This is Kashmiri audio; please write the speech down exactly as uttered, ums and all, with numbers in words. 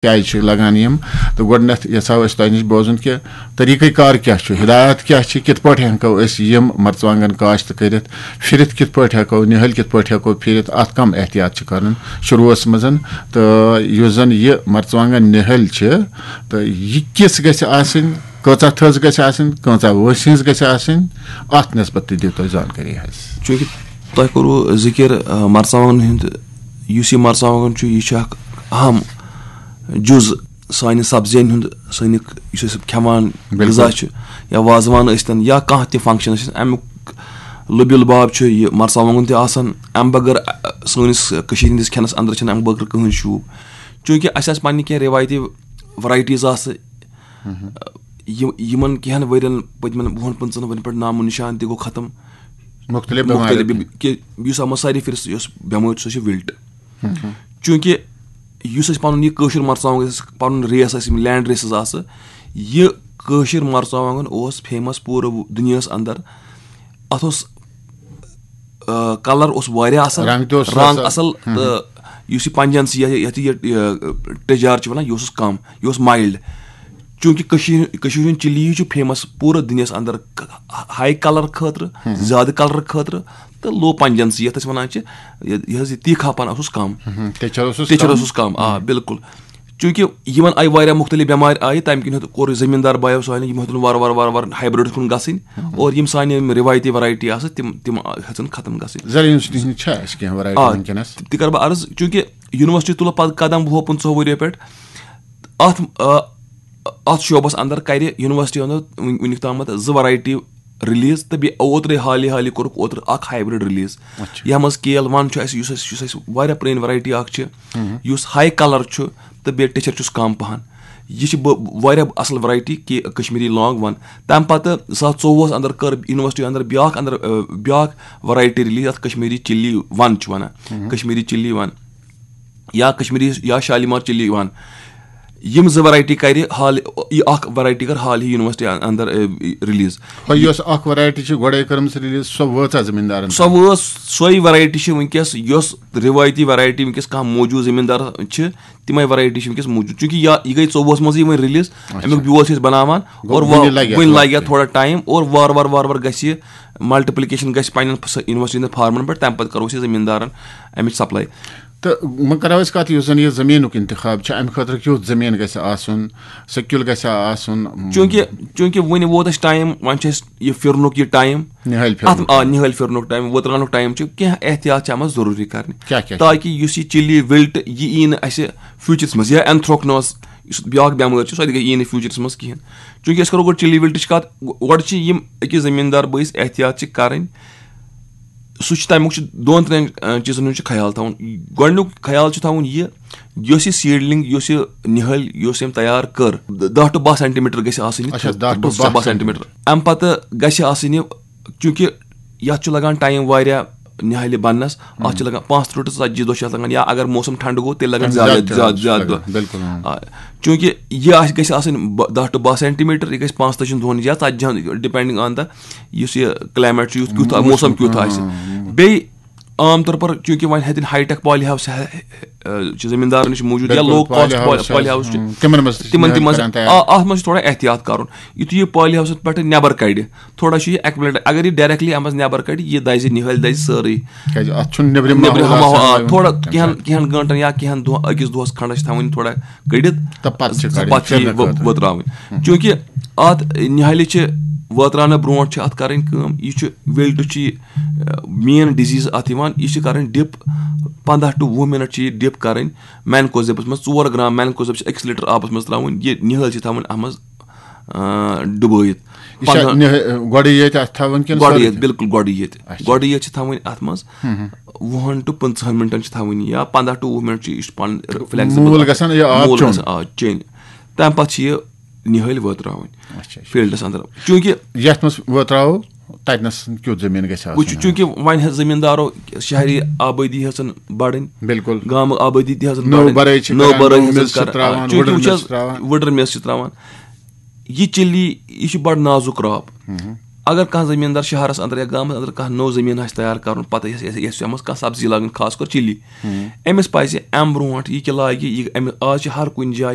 کیٛازِ چھِ لگان یِم؟ تہٕ گۄڈٕنٮ۪تھ یژھو أسۍ تۄہہِ نِش بوزُن کہِ طریٖقہٕ کار کیٛاہ چھُ، ہدایت کیٛاہ چھِ، کِتھ پٲٹھۍ ہٮ۪کو أسۍ یِم مرژٕوانٛگن کاشت کٔرِتھ، پھِرِتھ کِتھ پٲٹھۍ ہٮ۪کو، نِہٲلۍ کِتھ پٲٹھۍ ہٮ۪کو پھِرِتھ، اَتھ کَم احتیاط چھِ کَرُن شروٗعَس منٛز۔ تہٕ یُس زَن یہِ مرژٕوانٛگن نِہٲلۍ چھِ، تہٕ یہِ کِژھ گژھِ آسٕنۍ، کۭژاہ تھٔز گژھِ آسٕنۍ، کۭژاہ وٲنٛسہِ ہٕنٛز گژھِ آسٕنۍ، اَتھ نسبت تہِ دِیِو تُہۍ زانکٲری حظ۔ چوٗنٛکہِ تۄہہِ کوٚروٕ ذِکِر، آ، مرژٕوانٛگنَن ہُنٛد، یُس یہِ مرژٕوانٛگُن چھُ، یہِ چھُ اَکھ اَہَم جُز سانہِ سبزین ہُنٛد، سانہِ یُس أسۍ کھٮ۪وان بِلکُل۔ غذا چھُ، یا وازوان ٲسۍتن یا کانٛہہ تہِ function ٲسِتن، اَمیُک لُبہِ لُباب چھُ یہِ مرژٕوانٛگُن تہِ آسان۔ اَمہِ بغٲر، اَ، سٲنِس کٔشیٖرِ ہِنٛدِس کھٮ۪نَس اَندَر چھِنہٕ اَمہِ بغٲر کٕہٕنۍ شوٗب۔ چوٗنٛکہِ اَسہِ آسہِ پنٕنہِ کینٛہہ رِوایتی varieties آسہٕ، یِم، یِمَن کینٛہَن ؤرِین، پٔتمٮ۪ن وُہَن پٕنٛژٕہَن ؤرِین پٮ۪ٹھ نامو نِشان تہِ گوٚو ختم۔ مُختٔلِف مُختٔلِف بٮ۪مارِ۔ بٮ۪م-، کہِ یُس اَتھ منٛز ساروی فِرِ یۄس بٮ۪مٲرۍ چھِ، سۄ چھِ وِلٹ۔ چوٗنٛکہِ یُس أسۍ پَنُن یہِ کٲشُر مرژٕوانٛگُن، یُس پَنُن race اَسہِ، یِم land races آسہٕ، یہِ کٲشِر مرژٕوانٛگُن اوس famous پوٗرٕ دُنیاہَس اَندَر۔ اَتھ اوس، آ، colour اوس واریاہ اَصٕل، رنٛگ تہِ اوس رنٛگ اَصٕل۔ اَصٕل، تہٕ یُس یہِ پنجنسی، یَتھ، یَتھ یہِ، یہِ، ٹیٚجار چھِ وَنان، یہِ اوسُس کَم، یہِ اوس mild۔ چوٗنٛکہِ کٔشیٖرِ، کٔشیٖرِ ہُنٛد chilli چھُ famous پوٗرٕ دُنیاہَس اَندَر، high colour خٲطرٕ، زیادٕ colour خٲطرٕ، تہٕ low pungency، یَتھ أسۍ وَنان چھِ، یہِ، یہِ حظ یہِ تیٖکھا پَن اوسُس کَم۔ تیٚچھر اوسُس تیٚچھر کَم۔ اوسُس کَم، آ، بِلکُل۔ چوٗنٛکہِ یِمَن آیہِ واریاہ مُختٔلِف بٮ۪مارِ آیہِ، تَمہِ کِنۍ ہیوٚت، کوٚر یہِ زٔمیٖندار بایو سانہِ، یِم ہیوٚتُن وارٕ وارٕ، وارٕ وارٕ hybrid کُن گژھٕنۍ، اور یِم سانہِ یِم رِوایتی variety آسہٕ، تِم، تِم ہیٚژٕن ختم گژھٕنۍ۔ زرعی یونیورسٹی ہِنٛز چھا اَسہِ کینٛہہ variety آ، وٕنکیٚنَس؟ تہِ کَرٕ بہٕ عرض، چوٗنٛکہِ یونیورسٹی تُل پَتہٕ قدم وُہو پٕنٛژٕہو ؤرِیو پٮ۪ٹھ۔ اَتھ، آ، اَتھ شعبَس اَندَر کَرِ یونیورسٹی اَندَر وٕنیُک تامَتھ زٕ variety release، تہٕ بیٚیہِ اوترَے حالی حالی کوٚرُکھ اوترٕ اَکھ hybrid release۔ اچھا۔ یَتھ منٛز K L one چھُ اَسہِ، یُس اَسہِ، یُس اَسہِ واریاہ پرٛٲنۍ variety اَکھ چھِ، یُس high colour چھُ تہٕ بیٚیہِ ٹیٚچھر چھُس کَم پَہَن۔ یہِ چھِ بہٕ واریاہ اَصٕل variety، کہِ کشمیٖری long one۔ تَمہِ پَتہٕ زٕ ساس ژوٚوُہَس اَندَر کٔر یونیورسٹی اَندَر بیٛاکھ اَندَر، آ، بیٛاکھ variety release، اَتھ کشمیٖری chilli one چھِ وَنان، کشمیٖری chilli one۔ یا کشمیٖری یا شالیمار chilli one۔ یِم زٕ variety کَرِ حال، یہِ اَکھ variety کٔر حال ہی یونیورسٹی اَن-، اَندَر، اَ، release۔ ہۄ یۄس اَکھ variety چھِ گۄڈَے کٔرمٕژ release، سۄ وٲژاہ زٔمیٖندارَن سۄ تام؟ وٲژ، سۄے variety چھِ وٕنکیٚس، یۄس رِوایتی variety وٕنکیٚس کانٛہہ موٗجوٗد زٔمیٖندار چھِ، تِمَے variety چھِ وٕنکیٚس موٗجوٗد۔ چوٗنٛکہِ یا، یہِ گٔے ژوٚوُہَس منٛزٕے وۄنۍ release، اچھا۔ اَمیُک بیول چھِ أسۍ بَناوان، گوٚو اور وۄنۍ وۄنۍ لَگہِ اَتھ لَگہِ اَتھ وقتٕے۔ تھوڑا time، اور وارٕ وارٕ، وارٕ وارٕ گژھِ یہِ multiplication گژھِ پنٛنٮ۪ن فس-، یونیورسٹی ہٕنٛدٮ۪ن فارمَن پٮ۪ٹھ، تَمہِ پَتہٕ کَرو أسۍ یہِ زٔمیٖندارَن اَمِچ supply۔ تہٕ وۄنۍ کَرو أسۍ کَتھ، یُس زَن یہِ زٔمیٖنُک اِنتِخاب چھُ، اَمہِ خٲطرٕ کیُتھ زٔمیٖن گژھِ آسُن، سیٚکیُل گژھِ آسُن؟ چوٗنٛکہِ، چوٗنٛکہِ وُنہِ ووت اَسہِ time، وۄنۍ چھُ اَسہِ یہِ پھِرنُک یہِ time۔ نِہٲلۍ اَتھ، پھِرنُک آ، time۔ نِہٲلۍ پھِرنُک time، وٲتراونُک time چھُ، کینٛہہ احتیاط چھِ اَتھ منٛز ضروٗری کَرٕنۍ۔ کیٛاہ کیٛاہ چھِ؟ تاکہِ یُس یہِ chilli wilt، یہِ یی نہٕ اَسہِ futureَس منٛز، یا anthracnose، یُس بیٛاکھ بٮ۪مٲرۍ چھِ، سۄ تہِ گٔے، یی نہٕ futureَس منٛز کِہیٖنۍ۔ چوٗنٛکہِ أسۍ کَرو گۄڈٕ chilli wiltٕچ کَتھ، گۄ-، گۄڈٕ چھِ یِم أکِس زٔمیٖندار بٲیِس احتیاط چھِ کَرٕنۍ۔ سُہ چھُ تَمیُک چھُ دۄن ترٛٮ۪ن، آ، چیٖزَن ہُنٛد چھُ خیال تھاوُن۔ گۄڈٕنیُک خیال چھُ تھاوُن یہِ، یۄس یہِ seedling، یۄس یہِ نِہٲلۍ، یۄس أمۍ تیار کٔر، دَہ to باہ centimeter گژھِ آسٕنۍ یہِ اچھا، تھٔز، دَہ to تھٔز باہ سۄ باہ centimeter۔ centimeter۔ اَمہِ پَتہٕ گژھِ آسٕنۍ یہِ، چوٗنٛکہِ یَتھ چھُ لَگان time واریاہ نِہٲلہِ بَننَس، اَتھ چھِ لَگان پانٛژھ تٕرٛہ to ژَتجی دۄہ چھِ اَتھ لَگان، یا اگر موسم ٹھنٛڈٕ گوٚو، تیٚلہِ لَگان تَمہِ زیادٕ، زیادٕ تہِ زیادٕ، لَگان، زیادٕ دۄہ۔ بِلکُل، اۭں۔ آ، چوٗنٛکہِ یہِ آسہِ، گژھِ آسٕنۍ ب-، دَہ to باہ centimeter، یہِ گژھِ پانٛژتٲجی دۄہَن یا ژَتجی ہَن، depending on the یُس یہِ climate چھُ، یُتھ، کیُتھ موسم موسم، کیُتھ آسہِ۔ اۭں۔ بیٚیہِ عام طور پر چوٗنٛکہِ وۄنۍ ہیٚتِن high tech poly house، آ، چھِ زٔمیٖندارَن نِش موٗجوٗد، یا بِلکُل، low cost poly poly، house poly چھِ، house چھِ، اۭں، تِمَن منٛز تہِ چھِ تِمَن، نِہٲلۍ تِمَن منٛز، کران تیار۔ آ، اَتھ منٛز چھِ تھوڑا احتیاط کَرُن۔ یُتھُے یہِ poly houseَس پٮ۪ٹھ نٮ۪بر کَڑِ، تھوڑا چھُ یہِ acclimate، اگر یہِ directly اَمہِ منٛز نٮ۪بر کَڑِ، یہِ دَزِ، نِہٲلۍ دَژِ سٲرٕے۔ کیٛازِ اَتھ چھُنہٕ نیٚبرِم نیٚبرِم ماحول ہوا، آسان آ، وۄنۍ۔ تھوڑا اچھا۔ کینٛہَن، کینٛہَن گٲنٛٹَن یا کینٛہَن دۄہ، أکِس دۄہَس کھنٛڈَس چھِ تھاوٕنۍ تھوڑا کٔڑِتھ۔ تہٕ پَتہٕ چھِ کَڑٕنۍ پَتہٕ چھِ یہِ پھِرنہٕ وٲ-، خٲطرٕ۔ وٲتراوٕنۍ۔ ہُم۔ چوٗنٛکہِ اَتھ نِہٲلِس چھِ وٲتراونہٕ برونٛٹھ چھِ اَتھ کَرٕنۍ کٲم، یہِ چھُ وِلٹہٕ چھُ یہِ، آ، main disease اَتھ یِوان، یہِ چھِ کَرٕنۍ dip، پنٛداہ to وُہ minute چھِ یہِ dip کَرٕنۍ۔ Mancozebس منٛز ژور گرام mancozeb چھِ أکِس litre آبَس منٛز ترٛاوٕنۍ، یہِ نِہٲلۍ چھِ تھاوٕنۍ اَتھ منٛز، آ، ڈُبٲیِتھ۔ یہِ چھا پنٛداہ نِہٲ-، گۄڈٕ ییٚتہِ اَتھ تھاوٕنۍ کِنہٕ گۄڈٕ سورُے ییٚتہِ، کینٛہہ؟ بِلکُل گۄڈٕ ییٚتہِ۔ اچھا۔ گۄڈٕ ییٚتہِ چھِ تھاوٕنۍ اَتھ منٛز ہُم، ہُم۔ وُہَن to پٕنٛژٕہَن minute چھِ تھاوٕنۍ یہِ، یا پنٛداہ to وُہ minute چھِ یہِ چھُ پَنُن flexible موٗل آسان۔ گژھان یہِ آب موٗل چیوٚن۔ گژھان، آ، چیٚنۍ۔ تَمہِ پَتہٕ چھِ یہِ نِہٲلۍ وٲتراوٕنۍ اچھا، اچھا۔ fieldس اَندَر۔ چوٗنٛکہِ یَتھ منٛز وٲتراوو، تَتہِ نَس کیُتھ زٔمیٖن گژھِ وٕچھِو، آسُن؟ چوٗنٛکہِ وۄنۍ ہیٚتھ زٔمیٖندارو، شہری آبٲدی ہیٚژٕن بَڑٕنۍ، بِلکُل۔ گامہٕ آبٲدی تہِ ہیٚژٕن نٔو بَڑٕنۍ، بَرٲے چھِ نٔو کَران، بَرٲے نوٚو ہیٚژٕن میٚژ چھِ کَران، ترٛاوان، آ، چوٗنٛکہِ وٕڈٕر وٕچھ میٚژ حظ، چھِ ترٛاوان۔ وٕڈٕر میٚژ چھِ ترٛاوان۔ یہِ chilli، یہِ چھِ بَڑٕ نازُک crop۔ ہُم۔ اگر کانٛہہ زٔمیٖندار شہرَس اَندَر یا گامَس اَندَر کانٛہہ نوٚو زٔمیٖن آسہِ تیار کَرُن، پَتہٕ یَس، یَس، یَس، یَتھ منٛز کانٛہہ سبزی لاگٕنۍ، خاص کر chilli، ہُم۔ أمِس پَزِ اَمہِ برونٛٹھ یہِ کہِ لاگہِ، یہِ، أمِس، آز چھِ ہر کُنہِ جایہِ